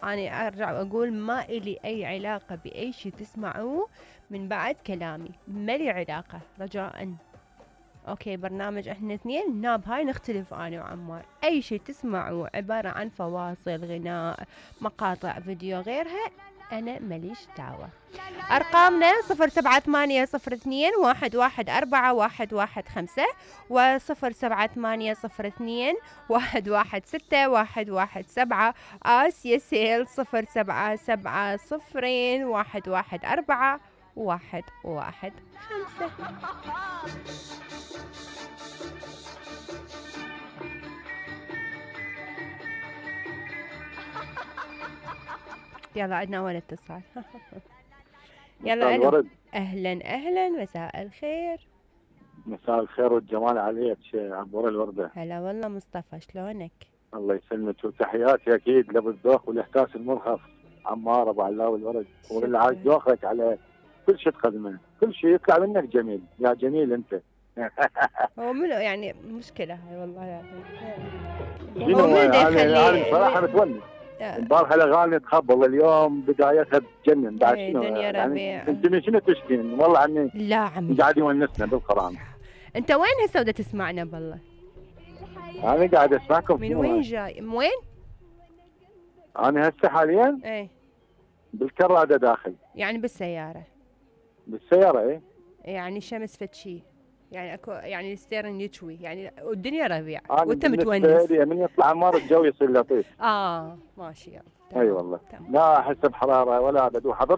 أنا أرجع وأقول ما إلي أي علاقة بأي شي تسمعوه من بعد كلامي، ما لي علاقة رجاءً. أوكي برنامج إحنا اثنين ناب هاي نختلف أنا وعمار. أي شي تسمعوه عبارة عن فواصل غناء مقاطع فيديو غيرها أنا ماليش دعوة. أرقامنا 078021141115 و078021161117 آسيا سيل 077021141115. يلا عندنا أول اتصال. يلا ألو. أهلا أهلا مساء الخير. مساء الخير والجمال عليك عبور الوردة. هلا والله مصطفى شلونك؟ الله يسلمك وتحياتي أكيد لأبو الذوق والإحساس المرهف عمار أبو علاوي الورد واللي عاد ذوقك على كل شيء تقدمه، كل شيء يطلع منك جميل، يا جميل أنت. هو منو يعني مشكلة هاي والله يعني. هو من أنا بصراحة متونس. البارحة الأغاني تخبل اليوم بدايتها بتجنن بعد شنو دنيا ربيع. يعني أنت من شنو تشتين؟ والله عني لا عمي قاعد يونسنا بالقرآن. أنت وين هسه ودا تسمعنا بالله؟ أنا قاعد أسمعكم. من وين جاي؟ من وين؟ أنا هسه حاليا إيه بالكرادة داخل. يعني بالسيارة؟ بالسيارة إيه. يعني شمس فتشي يعني اكو يعني الستيرن يشوي يعني والدنيا ربيع وانت متونس. من يطلع عمار الجو يصير لطيف. ماشي يلا. اي والله لا احس بحراره ولا ابد. وحضرت